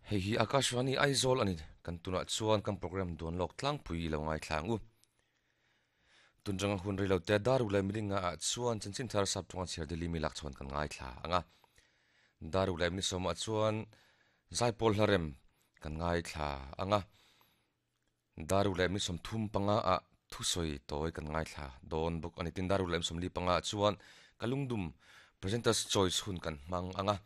Hei hi Akashvani Aizawl a ni. Kan tunah chuan kan program duan lawk tlangpui i lo ngaithla ang u. Tun ranga hun rei lo te dar ruk leh milinga ah chuan chanchin thar sap tawnga chhiar Delhi mi lak chhawn kan ngaithla ang a. Dar ruk leh minisawmah chuan Zaipawl hlarem kan ngaithla ang a. Dar ruk leh 35 ah thusawi tawi kan ngaithla dawn bawk a ni. Tin, dar ruk leh 45 ah chuan ka lungdum Presenter's Choice hun kan hmang ang a.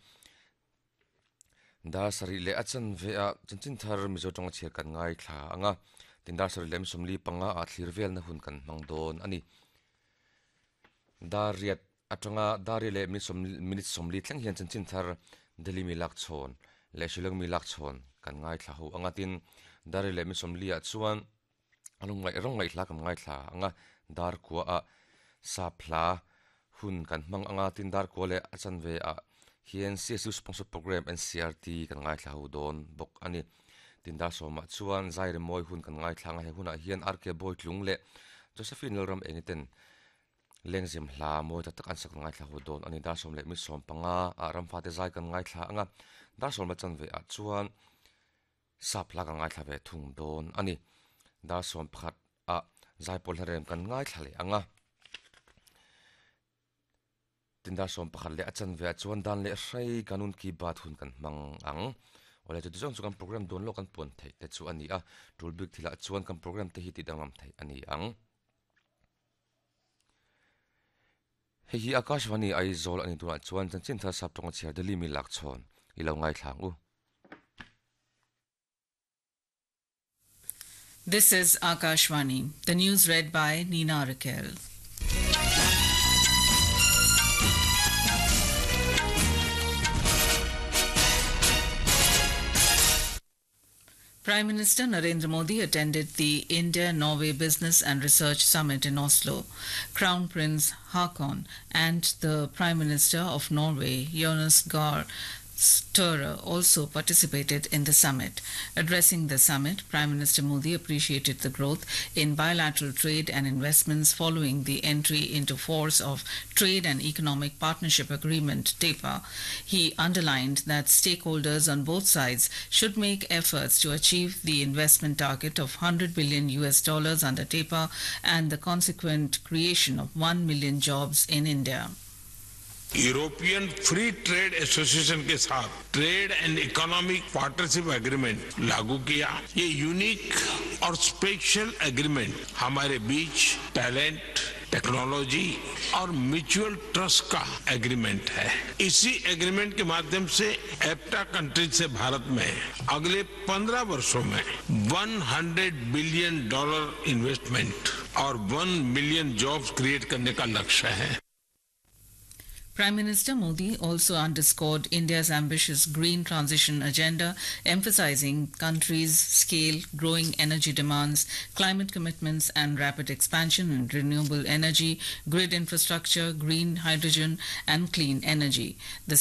Dar sarih leh a chanve ah chanchin thar Mizo tawnga chhiar kan ngaithla ang a. Tin, dar sarih leh 45 ah thlir velna hun kan hmang dawn a ni. Dar riat atanga dar riat leh minute 40 thleng hian chanchin thar Delhi mi lak chhawn leh Shillong mi lak chhawn kan ngaithla ho ang a. Tin, dar riat leh minute 40 ah chuan rawngaih rawngaih hla kan ngaithla ang a, dar kua ah sap hla hun kan hmang ang a. Tin, dar kua leh a chanve ah hian CSU sponsor program NCRT kan ngaithla ho dawn bawk a ni. Tin, dar sawmah chuan zai rimawi hun kan ngaithla ang a, he hunah hian RK Bawitlung leh Josephine Lalram Engiten Lengzem hla mawi tak tak an sak ngaithla ho dawn a ni. Dar sawm leh mi 15 ah ramfate zai kan ngaithla ang a, dar sawm la chanve ah chuan sap hla kan ngaithla ve thung dawn a ni. Dar 11 ah zaipawl hla rem kan ngaithla leh ang a. Tin dar 11 leh a chanve ah chuan dan leh hrei kanun ki baat hun kan hmang ang. Awle chuti zawng chu kan program dawn lawk kan puan theih te chu a ni a, tul bik thilah chuan kan program te hi tidanglam theih a ni ang. Hei hi Akashvani Aizawl a ni tunah chuan chanchin thar sap tawnga chhiar Delhi mi lak chhawn i lo ngaithla ang u. This is Akashvani. The news read by Nina Raquel. Prime Minister Narendra Modi attended the India Norway Business and Research Summit in Oslo. Crown Prince Haakon and the Prime Minister of Norway, Jonas Gahr Støre, also participated in the summit. Addressing the summit, Prime Minister Modi appreciated the growth in bilateral trade and investments following the entry into force of Trade and Economic Partnership Agreement TEPA. He underlined that stakeholders on both sides should make efforts to achieve the investment target of 100 billion US dollars under TEPA and the consequent creation of 1 million jobs in India. European Free Trade Association के साथ Trade and Economic Partnership Agreement लागू किया। ये unique और special agreement हमारे बीच talent, technology और mutual trust का एग्रीमेंट है। इसी एग्रीमेंट के माध्यम से एप्टा कंट्रीज से भारत में अगले 15 वर्षों में 100 billion dollar investment और 1 million jobs create करने का लक्ष्य है। Prime Minister Modi also underscored India's ambitious green transition agenda, emphasizing country's scale, growing energy demands, climate commitments, and rapid expansion in renewable energy, grid infrastructure, green hydrogen, and clean energy. The